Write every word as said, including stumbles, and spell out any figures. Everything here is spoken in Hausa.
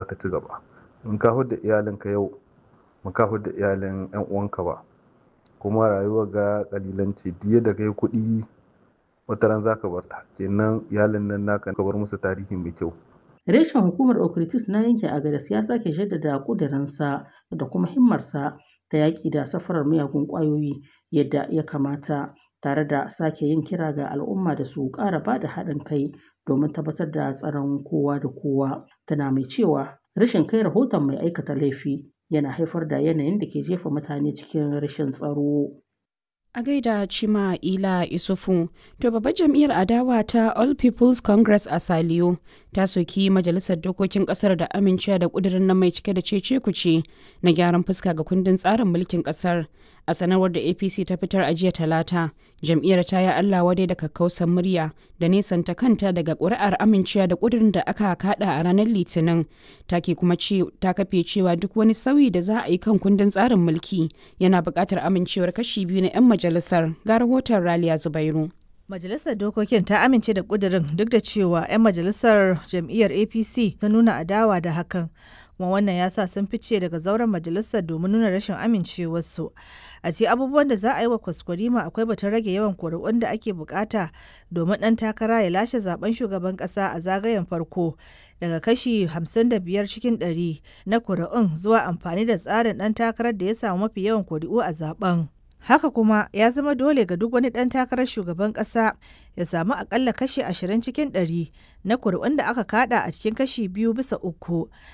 ta ci gaba. In ka hudda iyalinka yau, ba ka hudda iyalin 'yan uwanka ba. Kuma rayuwar ga ƙalilanci, duk yadda ka yi kuɗi wataran za ka bar ta. Kenan iyalin nan naka ka bar musu tarihi mai kyau. Reshen hukumar Okitis na yankin Agadez ya sake jaddada ƙudurinsa da kuma himmarsa ta yaƙi da safarar miyagun ƙwayoyi yadda ya kamata, tare da sake yin kira ga al'umma da su ƙara bada haɗin kai domin tabbatar da tsaron kowa da kowa. Tana mai cewa rashin kai rahoton mai aikata laifi yana haifar da yanayin da ke jefa mutane cikin rashin tsaro. A gaida Chima Ila Isufu, to babbar jam'iyyar adawa ta All People's Congress a Saliyo ta soki majalisar dokokin kasar da amincewa da kudirin nan mai cike da cece kuce na gyaran fuska ga kundin tsarin mulkin kasar. A sanarwar da A P C ta fitar a jiya Talata, jam'iyyar ta yi Allah wadai da kakkausan murya da nesanta kanta daga ƙuri'ar amincewa da kudirin da aka kada a ranar Litinin. Ta ke kuma ce ta kafe cewa duk wani sauyi da za a yi kan kundin tsarin mulki yana buƙatar amincewar kashi biyu na 'yan majalisar. Ga rahoton Raliya Zubairu. Majalisar Dokokin ta amince da ƙudurin duk da cewa 'yan majalisar jam'iyyar A P C ta nuna adawa da hakan. Kuma wannan ya sa sun fice daga zauren majalisar domin nuna rashin amincewarsu. A cikin abubuwan da za a yi wa kwaskwarima akwai batun rage yawan kuri'un da ake bukata domin ɗan takara ya lashe zaben shugaban ƙasa a zagayen farko daga kashi hamsin da biyar cikin ɗari na kuri'un zuwa amfani da tsarin ɗan takarar da ya samu mafi yawan kuri'u a zaben. Haka kuma ya zama dole ga duk wani ɗan takarar shugaban ƙasa ya samu akalla kashi ashirin cikin ɗari na kuri'un da aka kada a cikin kashi biyu bisa uku.